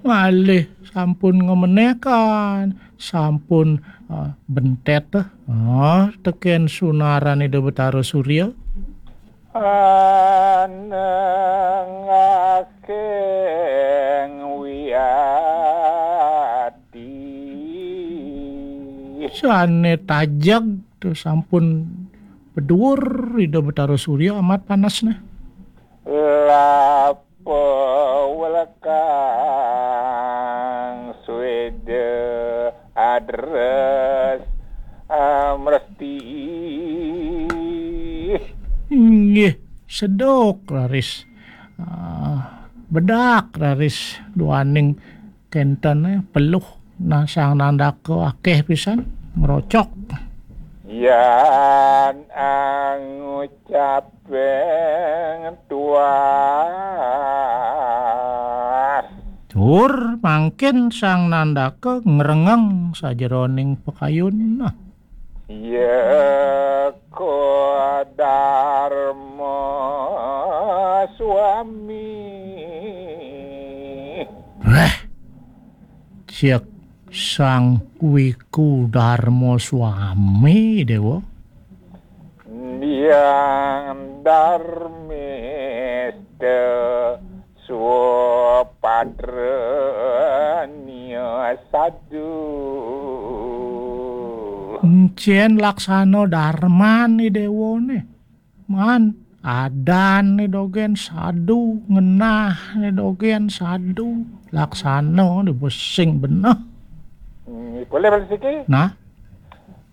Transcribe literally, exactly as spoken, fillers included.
Malih sampun ngamenekan, sampun eh, bentet eh. Oh, teken sunaran Ida Betara Surya. Anengakeng wiati. Sane tajeg tuh sampun beduur Ida Betara Surya amat panasne. Lapa welekang sweda adres amresti. Inggih, seduk raris. Ah, bedak raris duaning kenten eh, peluh. Nah, Sang Nandaka akeh pisan ngrocok. Yan angucapeng tuas. Tur mangkin Sang Nandaka ngrengeng sajeroning pakayun. Nah. Yeka Dharma Swami. Wah, cek Sang Wiku Dharma Swami, Dewa. Yang Dharmista Swapadranya Sadu. Encen laksana darman ni Dewa ne. Man, adan ni dogen sadu, ngenah ni dogen sadu. Laksana ni besing beneh. Hmm, boleh balik siki? Nah?